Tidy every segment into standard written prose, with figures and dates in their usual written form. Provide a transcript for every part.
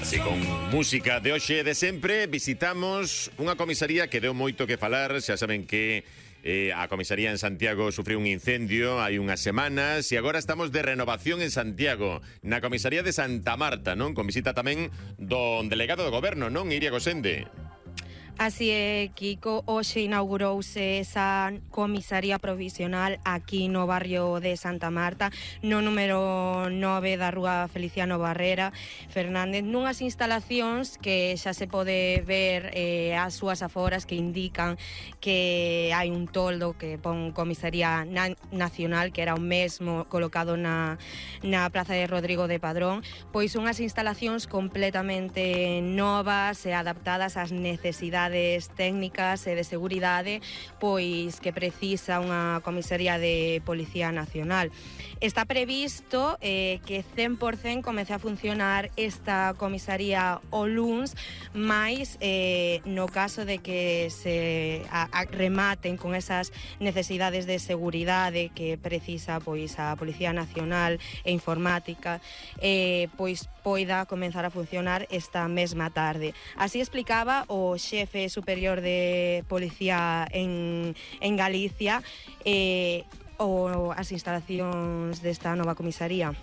Así con música de hoxe de sempre visitamos unha comisaría que deu moito que falar. Xa saben que a comisaría en Santiago sufriu un incendio hai unhas semanas e agora estamos de renovación en Santiago, na comisaría de Santa Marta, non? Con visita tamén do delegado do goberno, non? Iria Gosende. Así é, Kiko, hoxe inaugurouse esa comisaría provisional aquí no barrio de Santa Marta, no número 9 da rúa Feliciano Barrera Fernández, nunhas instalacións que xa se pode ver as súas aforas que indican que hai un toldo que pon comisaría nacional, que era o mesmo colocado na praza de Rodrigo de Padrón, pois unhas instalacións completamente novas e adaptadas ás necesidades técnicas e de seguridade pois que precisa unha comisaría de Policía Nacional. Está previsto que 100% comece a funcionar esta comisaría o luns, máis no caso de que se rematen con esas necesidades de seguridade que precisa pois a Policía Nacional e informática, pois poida comenzar a funcionar esta mesma tarde. Así explicaba o xefe superior de Policía en Galicia as instalacións desta nova comisaría.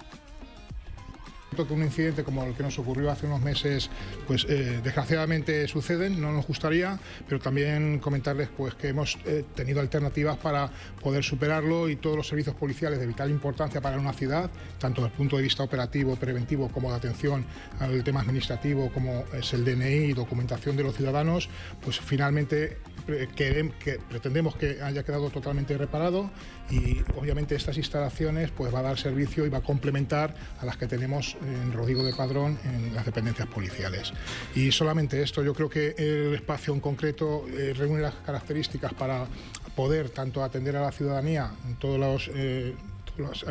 Que un incidente como el que nos ocurrió hace unos meses pues desgraciadamente suceden, no nos gustaría, pero también comentarles pues que hemos tenido alternativas para poder superarlo y todos los servicios policiales de vital importancia para una ciudad, tanto desde el punto de vista operativo, preventivo, como de atención al tema administrativo, como es el DNI y documentación de los ciudadanos, pues finalmente pretendemos que haya quedado totalmente reparado y obviamente estas instalaciones pues va a dar servicio y va a complementar a las que tenemos en Rodrigo de Padrón en las dependencias policiales. Y solamente esto, yo creo que el espacio en concreto reúne las características para poder tanto atender a la ciudadanía en todos los las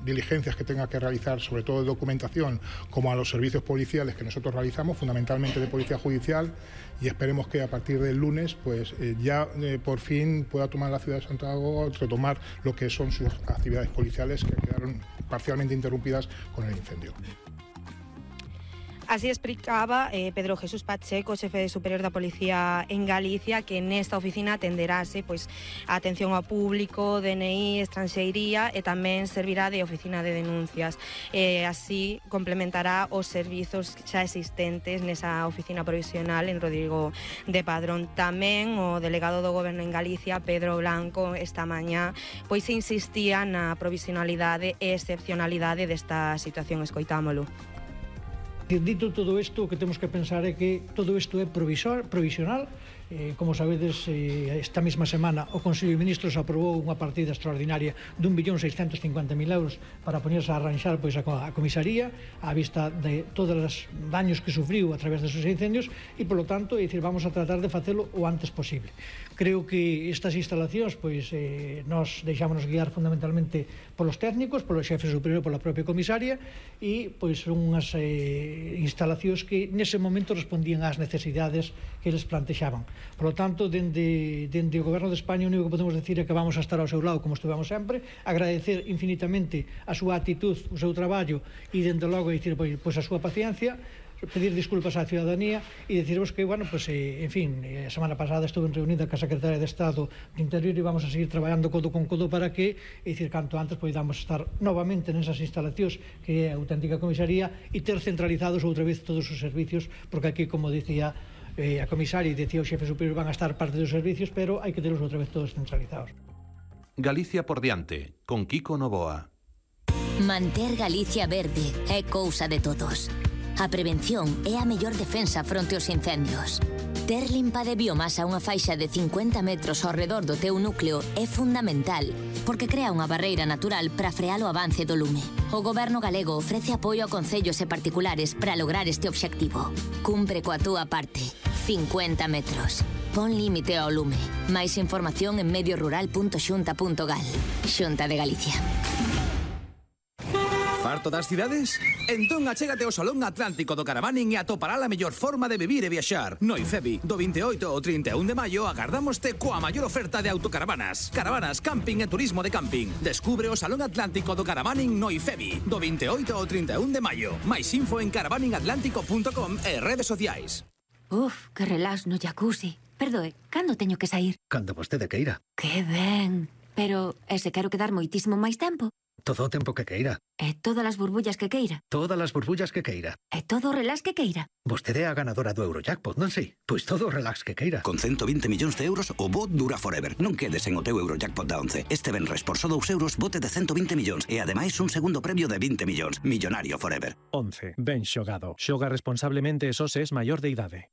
diligencias que tenga que realizar, sobre todo de documentación, como a los servicios policiales que nosotros realizamos, fundamentalmente de policía judicial, y esperemos que a partir del lunes pues ya por fin pueda tomar la ciudad de Santiago, retomar lo que son sus actividades policiales que quedaron parcialmente interrumpidas con el incendio. Así explicaba Pedro Jesús Pacheco, xefe superior da Policía en Galicia, que nesta oficina atenderase pois a atención ao público, DNI, estranxeiría e tamén servirá de oficina de denuncias. Así complementará os servizos xa existentes nesa oficina provisional en Rodrigo de Padrón. Tamén o delegado do Goberno en Galicia, Pedro Blanco, esta mañá pois insistía na provisionalidade e excepcionalidade desta situación. Escoitámolo. Dito todo isto, o que temos que pensar é que todo isto é provisional. Como sabedes, esta mesma semana o Consello de Ministros aprobou unha partida extraordinaria de 1.650.000 euros para ponerse a arranxar pois, a comisaría á vista de todos os daños que sufriu a través desos incendios e, polo tanto, vamos a tratar de facelo o antes posible. Creo que estas instalacións pois, nos deixámonos guiar fundamentalmente polos técnicos, polo xefe superior, pola propia comisaria e pois, son unhas instalacións que nese momento respondían ás necesidades que eles plantexaban. Por lo tanto, dende o Goberno de España, o único que podemos decir é que vamos a estar ao seu lado como estivemos sempre, agradecer infinitamente a súa actitud, o seu traballo e, dende logo, dicir, pois a súa paciencia, pedir disculpas á ciudadanía e decirvos que, bueno, pues, en fin, a semana pasada estuve reunida ca Secretaria de Estado de Interior e vamos a seguir traballando codo con codo para que, dicir, canto antes podamos estar novamente nesas instalacións que é a auténtica comisaría e ter centralizados outra vez todos os servicios, porque aquí, como dicía a comisaria e decía o xefe superior, van a estar parte dos servicios, pero hai que terlos outra vez todos centralizados. Galicia por diante, con Kiko Novoa. Manter Galicia verde é cousa de todos. A prevención é a mellor defensa fronte aos incendios. Ter limpa de biomasa unha faixa de 50 metros ao redor do teu núcleo é fundamental, porque crea unha barreira natural para frear o avance do lume. O Goberno galego ofrece apoio a concellos e particulares para lograr este obxectivo. Cumpre coa túa parte. 50 metros. Pon límite ao lume. Máis información en mediorural.xunta.gal. Xunta de Galicia. harto das cidades? Entón achégate ao Salón Atlántico do Caravaning e atopará a mellor forma de vivir e viaxar. No IFEBI, do 28 ao 31 de maio, agardámoste coa maior oferta de autocaravanas. Caravanas, camping e turismo de camping. Descubre o Salón Atlántico do Caravaning no IFEBI, do 28 ao 31 de maio. Mais info en caravaningatlántico.com e redes sociais. Uf, que relax no jacuzzi. Perdoe, cando teño que sair? Cando vostede queira. Que ben. Pero, e se quero quedar moitísimo máis tempo? Todo o tempo que queira. E todas as burbullas que queira? Todas as burbullas que queira. E todo o relax que queira? Vostede é a ganadora do Eurojackpot, non sei? Pois todo o relax que queira. Con 120 millóns de euros, o bot dura forever. Non quedes en o teu Eurojackpot da 11. Este venres por só 2 euros, bote de 120 millóns. E ademais un segundo premio de 20 millóns. Millonario forever. 11. Ben xogado. Xoga responsablemente e só se es maior de idade.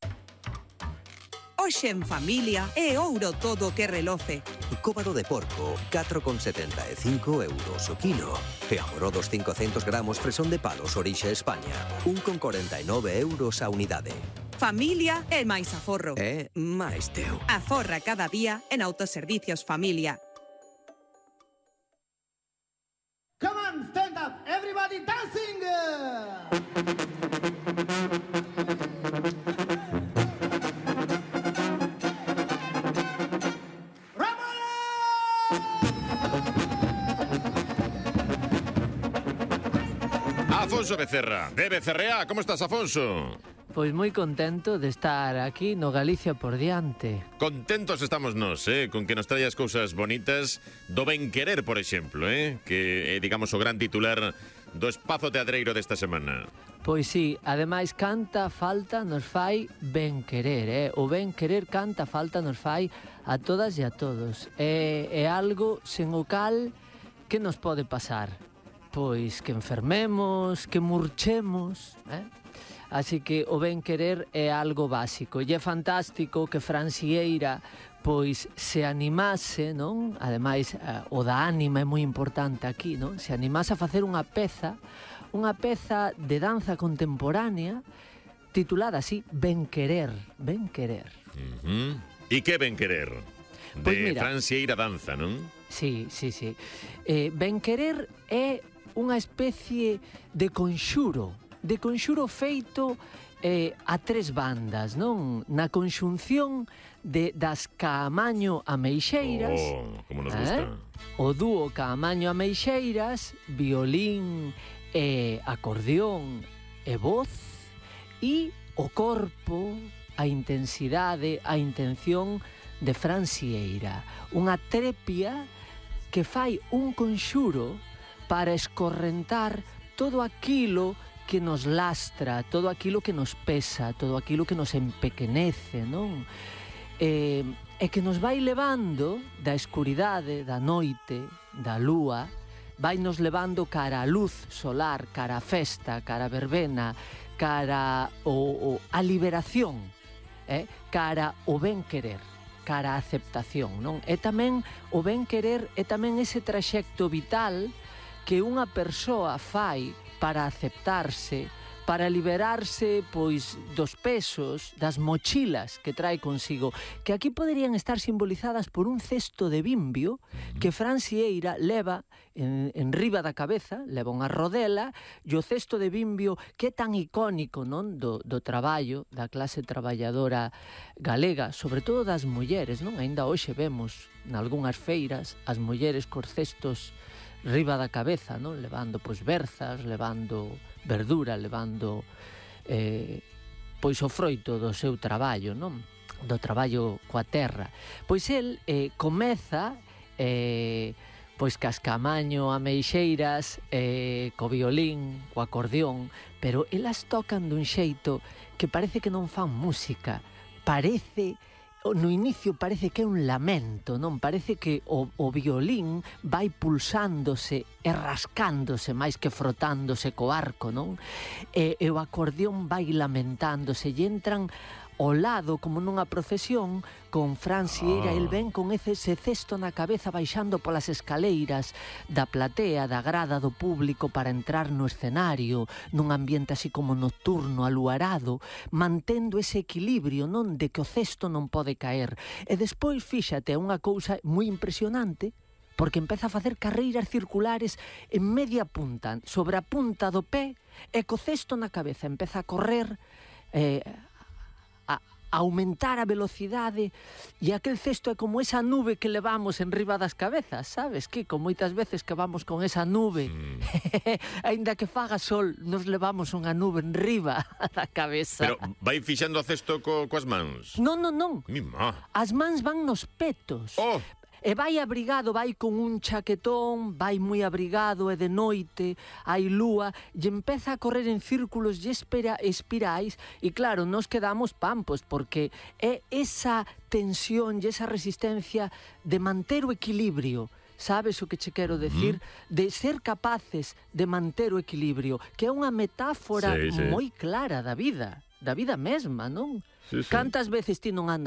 Hoxe en familia é ouro todo que reloce. Cóbado de porco, 4,75 euros o kilo. E amorodos 500 gramos fresón de palos orixe España, 1,49 euros a unidade. Familia é máis aforro. É máis teu. Aforra cada día en Autoservicios Familia. Come on, stand up, everybody dancing! Afonso Becerra, de Becerrea, como estás, Afonso? Pois moi contento de estar aquí no Galicia por diante. Contentos estamos nós, con que nos traias cousas bonitas do ben querer, por exemplo, que é, digamos, o gran titular do espazo teatreiro desta semana. Pois sí, ademais canta falta nos fai ben querer, O ben querer canta falta nos fai a todas e a todos. É algo sen o cal que nos pode pasar. Pois que enfermemos, que murchemos, Así que o ben querer é algo básico. E é fantástico que Fran Sieira pois se animase, non? Ademais, o da ánima é moi importante aquí, non? Se animase a facer unha peza de danza contemporánea titulada así, Ben Querer, Ben Querer. E que Ben Querer? De Fran Sieira Danza, non? Sí. Ben Querer é unha especie de conxuro feito a tres bandas, non? Na conxunción das Caamaño Ameixeiras, como nos gusta. O dúo Caamaño Ameixeiras, violín e acordeón e voz, e o corpo, a intensidade, a intención de Fran Sieira. Unha trepia que fai un conxuro para escorrentar todo aquilo que nos lastra, todo aquilo que nos pesa, todo aquilo que nos empequenece, non? E que nos vai levando da escuridade, da noite, da lúa, vai nos levando cara a luz solar, cara a festa, cara a verbena, cara a liberación, cara o ben querer, cara a aceptación, non? E tamén o ben querer é tamén ese traxecto vital que unha persoa fai para aceptarse, para liberarse pois dos pesos, das mochilas que trae consigo, que aquí poderían estar simbolizadas por un cesto de bimbio que Fran Sieira leva en riba da cabeza, leva unha rodela, e o cesto de bimbio que é tan icónico, non, do traballo da clase traballadora galega, sobre todo das mulleres, non? Ainda hoxe vemos nalgunhas feiras as mulleres cos cestos riba da cabeza, non? Levando pois berzas, levando verdura, levando pois o froito do seu traballo, non? Do traballo coa terra. Pois el comeza pois cas Caamaño Ameixeiras, co violín, co acordeón, pero elas tocan dun xeito que parece que non fan música, no inicio parece que é un lamento, non? Parece que o violín vai pulsándose e rascándose máis que frotándose co arco, non? E o acordeón vai lamentándose e entran ao lado, como nunha procesión, con Fran Sieira, el ven con ese cesto na cabeza baixando polas escaleiras da platea, da grada do público para entrar no escenario, nun ambiente así como nocturno, aluarado, mantendo ese equilibrio, non? De que o cesto non pode caer. E despois, fíxate, unha cousa moi impresionante, porque empeza a facer carreiras circulares en media punta, sobre a punta do pé, e co cesto na cabeza empeza a correr, a aumentar a velocidade, e aquel cesto é como esa nube que levamos en riba das cabezas, sabes, Kiko? Moitas veces que vamos con esa nube, aínda que faga sol, nos levamos unha nube en riba da cabeza. Pero vai fixando o cesto coas mans? Non. Mima. As mans van nos petos. Oh! E vai abrigado, vai con un chaquetón, vai moi abrigado, e de noite, hai lúa, e empeza a correr en círculos e espirais, e claro, nos quedamos pampos, porque é esa tensión e esa resistencia de manter o equilibrio. Sabes o que che quero decir? De ser capaces de manter o equilibrio, que é unha metáfora moi clara da vida mesma, non? Sí. Cantas veces ti non andas